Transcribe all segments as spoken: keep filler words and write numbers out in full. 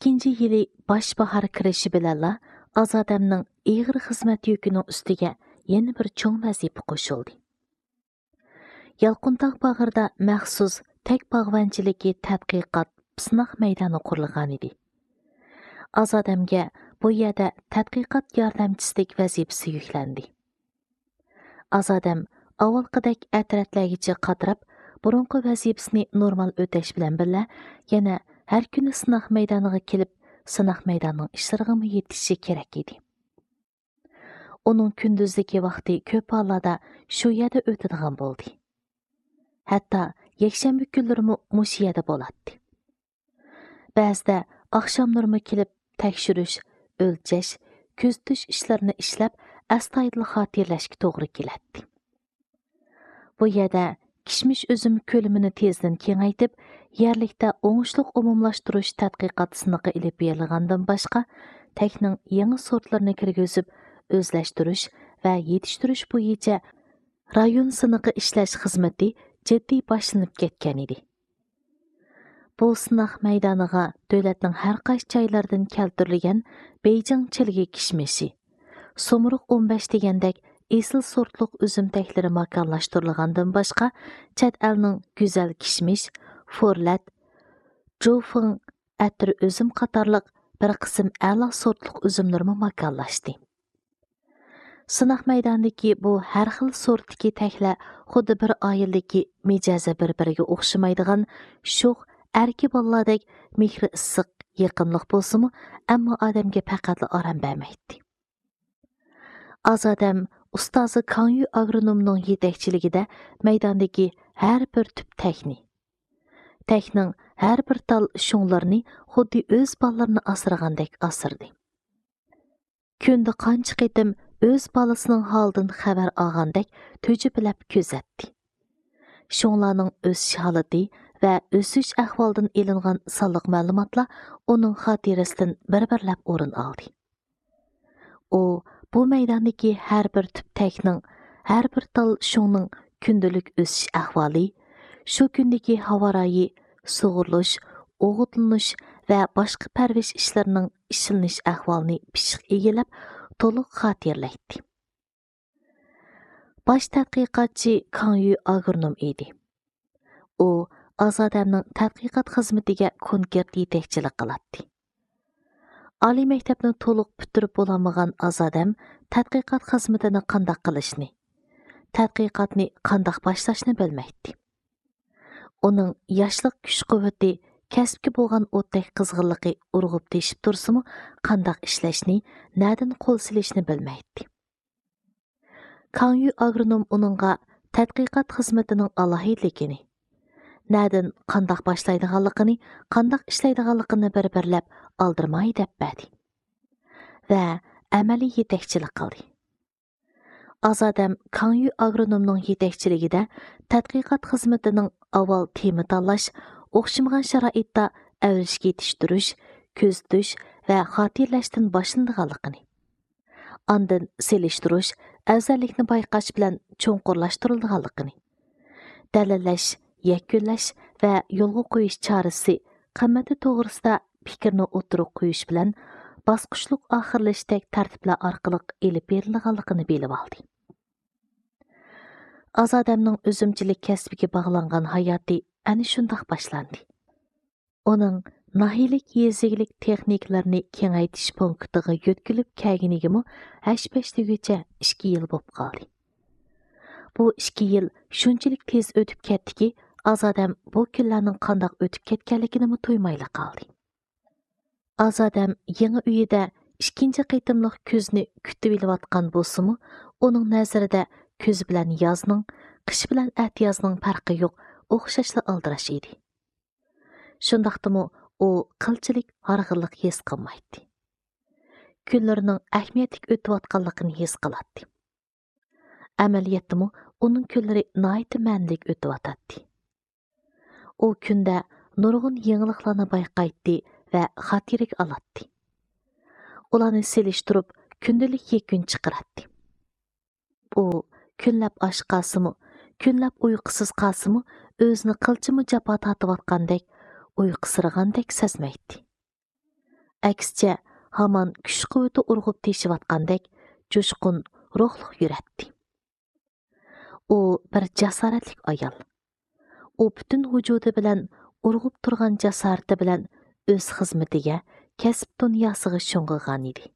ئىككىنچى يىلى باش باھار كىرىشى بىلەنلا ئازادەمنىڭ ئېغىر خىزمەت يۈكىنىڭ ئۈستىگە يەنە بىر چوڭ ۋەزىپە قوشۇلدى. يالقۇنتاغ باغرىدا مەخسۇس تەك باغۋەنچىلىكى تەتقىقات سىناق مەيدانى قۇرۇلغانىدى. ئازادەمگە بۇ يەردە تەتقىقات ياردەمچىسىدەك ۋەزىپىسى يۈكلەندى. ئازادەم ئاۋۋالقىدەك ئەترەتلەرگىچە قاتراپ، بۇرۇنقى ۋەزىپىسىنى نورمال ئۆتەش بىلەن بىللە، يەنە ھەر كۈنى سىناق مەيدانىغا كېلىپ، سىناق مەيدانىنىڭ ئىشلىرىغىمۇ يېتىشىشى كېرەك ئىدى. ئۇنىڭ كۈندۈزدىكى ۋاقتى كۆپ ھاللاردا شۇ يەردە ئۆتىدىغان بولدى. ھەتتا يەكشەنبە كۈنلىرىمۇ مۇشۇ يەردە بولاتتى. بەزىدە ئاخشاملىرىمۇ كېلىپ تەكشۈرۈش، ئۆلچەش، كۆزىتىش ئىشلىرىنى ئىشلەپ، ئەستايىدىل خاتىرىلەشكە توغرا كېلەتتى. بۇ يەردە كىشمىش ئۈزۈم كۆلىمىنى تېزدىن كېڭەيتىپ، يەرلىكتە ئوڭۇشلۇق ئومۇملاشتۇرۇش تەتقىقات سىنىقى ئېلىپ بېرىلغاندىن باشقا، تەكنىڭ يېڭى سورتلىرىنى كىرگۈزۈپ ئۆزلەشتۈرۈش ۋە يېتىشتۈرۈش بويىچە رايون سىنىقى ئىشلەش خىزمىتى جىددىي باشلىنىپ كەتكەن ئىدى. بۇ سىناق مەيدانىغا دۆلەتنىڭ ھەر قايسى جايلىرىدىن كەلتۈرۈلگەن بېيجىڭ چىلگە كىشمىشى، سومۇرۇق ئون بەش دېگەندەك ئېسىل سورتلۇق ئۈزۈم تەكلىرى ماكانلاشتۇرۇلغاندىن باشقا، چەت ئەلنىڭ گۈزەل كىشمىش، فورلەت، جۇفېڭ، ئەتىر ئۈزۈم قاتارلىق بىر قىسىم ئەلا سورتلۇق ئۈزۈملىرىمۇ ماكانلاشتى. سىناق مەيدانىدىكى بۇ ھەر خىل سورتتىكى تەكلەر خۇددى بىر ئائىلىدىكى مىجەزى بىر-بىرىگە ئوخشىمايدىغان شوخ ئەركە بالىلاردەك مېھرى ئىسسىق، يېقىملىق بولسىمۇ، ئەمما ئادەمگە پەقەتلا ئارام بەرمەيتتى. ئازادەم ئۇستازى كاڭيۈ ئاگرونومنىڭ يېتەكچىلىكىدە مەيداندىكى ھەر بىر تۈپ تەكنى، تەكنىڭ ھەر بىر تال شۇڭلىرىنى خۇددى ئۆز بالىلىرىنى ئاسرىغاندەك ئاسرىدى. كۈندە قانچە قېتىم ئۆز بالىسىنىڭ ھالىدىن خەۋەر ئالغاندەك تۈجۈپىلەپ كۆزەتتى. شۇڭلارنىڭ ئۆسۈش ھالىتى ۋە ئۆسۈش ئەھۋالىدىن ئېلىنغان سانلىق مەلۇماتلار ئۇنىڭ خاتىرىسىدىن بىر-بىرلەپ ئورۇن ئالدى. ئۇ بۇ مەيداندىكى ھەر بىر تۈپ تەكنىڭ، ھەر بىر تال شۇڭنىڭ كۈندىلىك ئۆسۈش ئەھۋالى، شۇ كۈندىكى ھاۋا رايى، سۇغۇرۇلۇش، ئوغۇتلىنىش ۋە باشقا پەرۋىش ئىشلىرىنىڭ ئىشلىنىش ئەھۋالىنى پىششىق ئىگىلەپ، تولۇق خاتىرىلەيتتى. باش تەتقىقاتچى كاڭيۈ ئاگرونوم ئىدى. ئۇ ئازادەمنىڭ تەتقىقات خىزمىتىگە كونكرېت يېتەكچىلىك قىلاتتى. ئالىي مەكتەپنى تولۇق پۈتتۈرۈپ بولالمىغان ئازادەم تەتقىقات خىزمىتىنى قانداق قىلىشنى، تەتقىقاتنى قانداق باشلاشنى بىلمەيتتى. ئۇنىڭ ياشلىق كۈچ-قۇۋۋىتى، كەسىپكە بولغان ئوتتەك قىزغىنلىقى ئۇرغۇپ تېشىپ تۇرسىمۇ، قانداق ئىشلەشنى، نەدىن قول سېلىشنى بىلمەيتتى. كاڭيۈ ئاگرونوم ئۇنىڭغا تەتقىقات خىزمىتىنىڭ ئالاھىدىلىكىنى، نەدىن قانداق باشلايدىغانلىقىنى، قانداق ئىشلەيدىغانلىقىنى بىر-بىرلەپ ئالدىرىماي دەپ بەردى ۋە ئەمەلىي يېتەكچىلىك قىلدى. ئازادەم كاڭيۈ ئاگرونومنىڭ يېتەكچىلىكىدە تەتقىقات خىزمىتىنىڭ ئاۋۋال تېما تاللاش، ئوخشىمىغان شارائىتتا ئەۋرىشكە يېتىشتۈرۈش، كۆزىتىش ۋە خاتىرىلەشتىن باشلىنىدىغانلىقىنى، ئاندىن سېلىشتۇرۇش، ئەۋزەللىكنى بايقاش بىلەن چوڭقۇرلاشتۇرۇلىدىغانلىقىنى، دەلىللەش، يەكۈنلەش ۋە يولغا قويۇش چارىسى قىممىتى توغرىسىدا پىكىرنى ئوتتۇرىغا قويۇش بىلەن باسقۇچلۇق ئاخىرلىشىشتەك تەرتىپلەر ئارقىلىق ئېلىپ بېرىلىدىغانلىقىنى بىلىۋالدى. ئازادەمنىڭ ئۈزۈمچىلىك كەسپىگە باغلانغان ھاياتى ئەنە شۇنداق باشلاندى. ئۇنىڭ ناھىيەلىك يېزا ئىگىلىك تېخنىكىلىرىنى كېڭەيتىش پونكىتىغا يۆتكىلىپ كەلگىنىگىمۇ ھەش-پەش دېگۈچە ئىككى يىل بوپ قالدى. بۇ ئىككى يىل شۇنچىلىك تېز ئۆتۈپ كەتتىكى، ئازادەم بۇ كۈنلەرنىڭ قانداق ئۆتۈپ كەتكەنلىكىنىمۇ تۇيمايلا قالدى. ئازادەم يېڭى ئۆيىدە ئىككىنچى قېتىملىق كۈزنى كۈتۈۋېلىۋاتقان بولسىمۇ، ئۇنىڭ نەزىرىدە كۈز بىلەن يازنىڭ، قىش بىلەن ئەتىيازنىڭ پەرقى يوق، ئوخشاشلا ئالدىراش ئىدى. شۇنداقتىمۇ ئۇ قىلچىلىك ھارغىنلىق ھېس قىلمايتتى. كۈنلىرىنىڭ ئەھمىيەتلىك ئۆتۈۋاتقانلىقىنى ھېس قىلاتتى. ئەمەلىيەتتىمۇ ئۇنىڭ كۈنلىرى ناھايىتى مەنىلىك ئۆتۈۋاتاتتى. ئۇ كۈندە نۇرغۇن يېڭىلىقلارنى بايقايتتى ۋە خاتىرىگە ئالاتتى. ئۇلارنى سېلىشتۇرۇپ، كۈندىلىك يەكۈن چىقىراتتى. ئۇ كۈنلەپ ئاچ قالسىمۇ، كۈنلەپ ئۇيقۇسىز قالسىمۇ، ئۆزىنى قىلچىمۇ جاپا تارتىۋاتقاندەك، ئۇيقۇسىرىغاندەك سەزمەيتتى. ئەكسىچە، ھامان كۈچ-قۇۋۋىتى ئۇرغۇپ تېشىۋاتقاندەك جۇشقۇن، روھلۇق يۈرەتتى. ئۇ بىر جاسارەتلىك ئايال. ئۇ پۈتۈن ۋۇجۇدى بىلەن، ئۇرغۇپ تۇرغان جاسارىتى بىلەن ئۆز خىزمىتىگە، كەسىپ دۇنياسىغا شۇڭغۇغان ئىدى.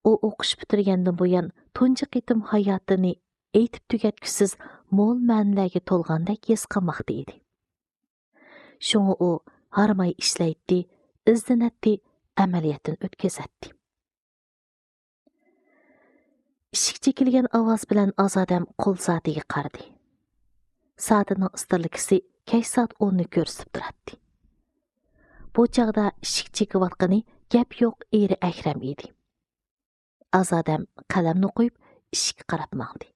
ئۇ ئوقۇش پۈتتۈرگەندىن بۇيان تۇنجى قېتىم ھاياتىنى ئېيتىپ تۈگەتكۈسىز مول مەنىلەرگە تولغاندەك ھېس قىلماقتا ئىدى. شۇڭا ئۇ ھارماي ئىشلەيتتى، ئىزدىنەتتى، ئەمەلىيەتتىن ئۆتكۈزەتتى. ئىشىك چېكىلگەن ئاۋاز بىلەن ئازادەم قول سائىتىگە قارىدى. سائىتىنىڭ ئىسترېلكىسى كەچ سائەت ئوننى كۆرسىتىپ تۇراتتى. بۇ چاغدا ئىشىك چېكىۋاتقىنى گەپ يوق ئېرى ئەكرەم ئىدى. ئازادەم قەلەمنى قويۇپ، ئىشىككە قاراپ ماڭدى.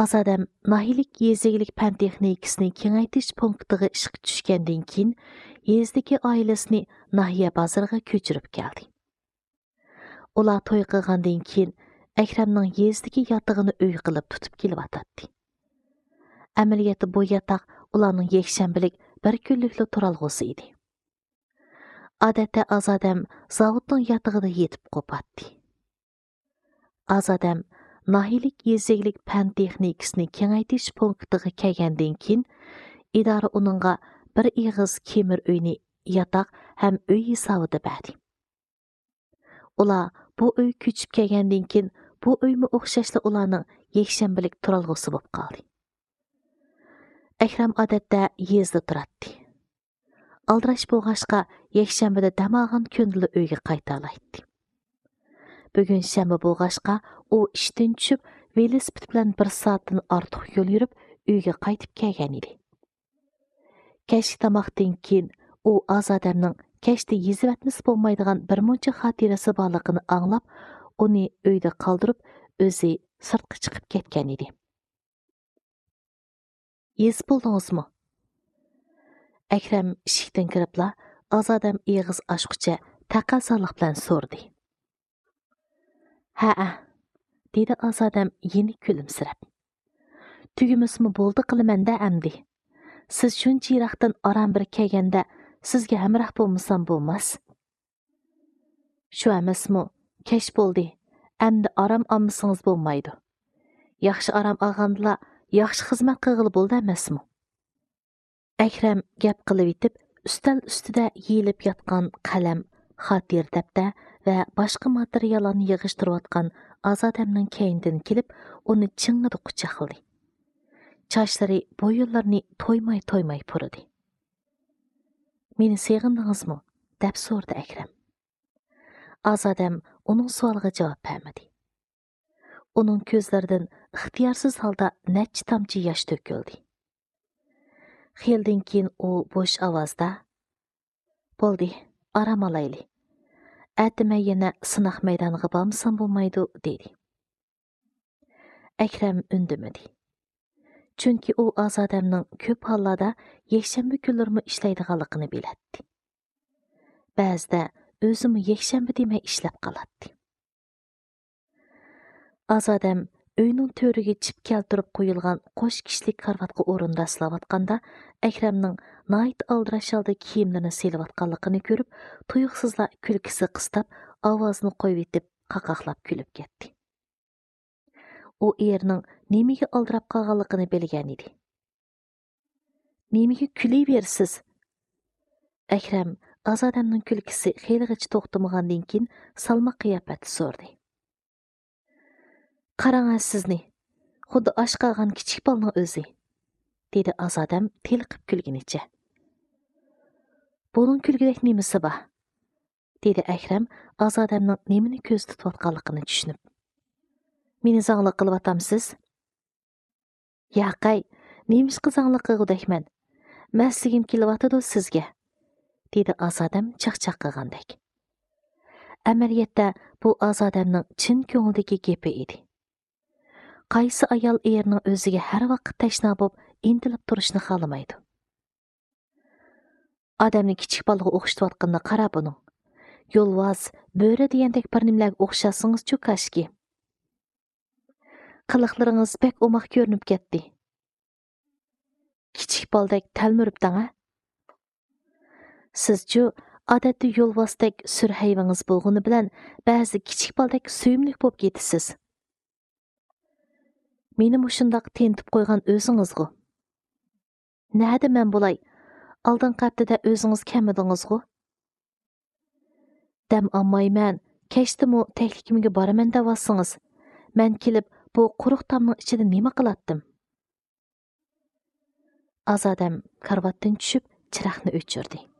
ئازادەم ناھىيەلىك يېزا ئىگىلىك پەن تېخنىكىسىنى كېڭەيتىش پونكىتىغا ئىشقا چۈشكەندىن كېيىن، يېزىدىكى ئائىلىسىنى ناھىيە بازىرىغا كۆچۈرۈپ كەلدى. ئۇلار توي قىلغاندىن كېيىن، ئەكرەمنىڭ يېزىدىكى ياتىقىنى ئۆي قىلىپ تۇتۇپ كېلىۋاتاتتى. ئەمەلىيەتتە بۇ ياتاق ئۇلارنىڭ يەكشەنبىلىك بىر كۈنلۈكلا تۇرالغۇسى ئىدى. ئادەتتە ئازادەم زاۋۇتنىڭ ياتىقىدا يېتىپ قوپاتتى. ئازادەم ناھىيەلىك يېزا ئىگىلىك پەن تېخنىكىسىنى كېڭەيتىش پونكىتىغا كەلگەندىن كېيىن، ئىدارە ئۇنىڭغا بىر ئېغىز كېمىر ئۆينى ياتاق ھەم ئۆي ھېسابىدا بەردى. ئۇلار بۇ ئۆيگە كۆچۈپ كەلگەندىن كېيىن، بۇ ئۆيمۇ ئوخشاشلا ئۇلارنىڭ يەكشەنبىلىك تۇرالغۇسى بولۇپ قالدى. ئەكرەم ئادەتتە يېزىدا تۇراتتى. ئالدىراش بولغاچقا، يەكشەنبىدە دەم ئالغان كۈنىلا ئۆيگە قايتالايتتى. بۈگۈن شەنبە بولغاچقا، ئۇ ئىشتىن چۈشۈپ، ۋېلىسىپىت بىلەن بىر سائەتتىن ئارتۇق يول يۈرۈپ، ئۆيگە قايتىپ كەلگەن ئىدى. كەچلىك تاماقتىن كېيىن ئۇ ئازادەمنىڭ كەچتە يېزىۋەتمىسە بولمايدىغان بىر مۇنچە خاتىرىسى بارلىقىنى ئاڭلاپ، ئۇنى ئۆيدە قالدۇرۇپ، ئۆزى سىرتقا چىقىپ كەتكەن ئىدى. يېزىپ بولدىڭىزمۇ؟ ئەكرەم ئىشىكتىن كىرىپلا، ئازادەم ئېغىز ئاچقۇچە تەقەززالىق بىلەن سورىدى. ھەئە، دېدى ئازادەم يەنە كۈلۈمسىرەپ. تۈگىمىسىمۇ بولدى قىلىمەن-دە ئەمدى. سىز شۇنچە يىراقتىن ئاران بىر كەلگەندە، سىزگە ھەمراھ بولمىسام بولماس. شۇ ئەمەسمۇ، كەچ بولدى، ئەمدى ئارام ئالمىسىڭىز بولمايدۇ. ياخشى ئارام ئالغاندىلا، ياخشى خىزمەت قىلغىلى بولىدۇ ئەمەسمۇ؟ ئەكرەم گەپ قىلىۋېتىپ، ئۈستەل ئۈستىدە يېيىلىپ ياتقان قەلەم، خاتىرە دەپتەر ۋە باشقا ماتېرىياللارنى يىغىشتۇرۇۋاتقان ئازادەمنىڭ كەينىدىن كېلىپ، ئۇنى چىڭڭىدە قۇچاقلىدى. چاچلىرى، بويۇنلىرىنى تويماي-تويماي پۇرىدى. مېنى سېغىندىڭىزمۇ؟ دەپ سورىدى ئەكرەم. ئازادەم ئۇنىڭ سوئالىغا جاۋاب بەرمىدى. ئۇنىڭ كۆزلىرىدىن ئىختىيارسىز ھالدا نەچچە تامچە ياش تۆكۈلدى. خېلىدىن كېيىن ئۇ بوش ئاۋازدا، بولدى، ئارام ئالايلى. ئەتە مەن يەنە سىناق مەيدانىغا بارمىسام بولمايدۇ، دېدى. ئەكرەم ئۈندىمىدى. چۈنكى ئۇ ئازادەمنىڭ كۆپ ھاللاردا يەكشەنبە كۈنلىرىمۇ ئىشلەيدىغانلىقىنى بىلەتتى. بەزىدە ئۆزىمۇ يەكشەنبە دېمەي ئىشلەپ قالاتتى. ئازادەم ئۆينىڭ تۆرىگە چىپ كەلتۈرۈپ قويۇلغان قوش كىشىلىك كارىۋاتقا ئورۇنداشلاۋاتقاندا، ئەكرەمنىڭ ناھايىتى ئالدىراش ھالدا كىيىملىرىنى سېلىۋاتقانلىقىنى كۆرۈپ، تۇيۇقسىزلا كۈلكىسى قىستاپ، ئاۋازىنى قويۇۋېتىپ، قاقاقلاپ كۈلۈپ كەتتى. ئۇ ئېرىنىڭ نېمىگە ئالدىراپ قالغانلىقىنى بىلگەنىدى. نېمىگە كۈلۈۋېرىسىز؟ ئەكرەم ئازادەمنىڭ كۈلكىسى خېلىغىچە توختىمىغاندىن كېيىن، سالماق قىياپەتتە سورىدى. قاراڭ ھە سىزنى، خۇددى ئاچ قالغان كىچىك بالىنىڭ ئۆزى، دېدى ئازادەم تېلىقىپ كۈلگىنىچە. بۇنىڭ كۈلگۈدەك نېمىسى بار؟ دېدى ئەكرەم ئازادەمنىڭ نېمىنى كۆزدە تۇتۇۋاتقانلىقىنى چۈشىنىپ. مېنى زاڭلىق قىلىۋاتامسىز؟ ياقەي، نېمىشقا زاڭلىق قىلغۇدەكمەن؟ مەستلىگۈم كېلىۋاتىدۇ سىزگە، دېدى ئازادەم چاقچاق قىلغاندەك. ئەمەلىيەتتە بۇ ئازادەمنىڭ چىن كۆڭلىدىكى گېپى ئىدى. قايسى ئايال ئېرىنىڭ ئۆزىگە ھەر ۋاقىت تەشنا بولۇپ ئىنتىلىپ تۇرۇشنى خالىمايدۇ؟ ئادەمنى كىچىك بالىغا ئوخشىتىۋاتقىنىنى قارا بۇنىڭ. يولۋاس، بۆرە دېگەندەك بىر نېمىلەرگە ئوخشاتسىڭىزچۇ كاشكى. قىلىقلىرىڭىز بەك ئوماق كۆرۈنۈپ كەتتى. كىچىك بالىدەك تەلمۈرۈپتىڭ ھە؟ سىزچۇ، ئادەتتە يولۋاستەك سۈر ھەيۋىڭىز بولغىنى بىلەن، بەزىدە كىچىك بالىدەك سۆيۈملۈك بولۇپ كېتىسىز. مېنى مۇشۇنداق تېنىتىپ قويغان ئۆزىڭىزغۇ. نەدە مەن بولاي؟ ئالدىنقى ھەپتىدە ئۆزىڭىز كەلمىدىڭىزغۇ؟ دەم ئالمايمەن، كەچتىمۇ تەكلىكىمگە بارىمەن دەۋاتسىڭىز. مەن كېلىپ، بۇ قۇرۇق تامنىڭ ئىچىدە نېمە قىلاتتىم؟ ئازادەم كارىۋاتتىن چۈشۈپ، چىراغنى ئۆچۈردى.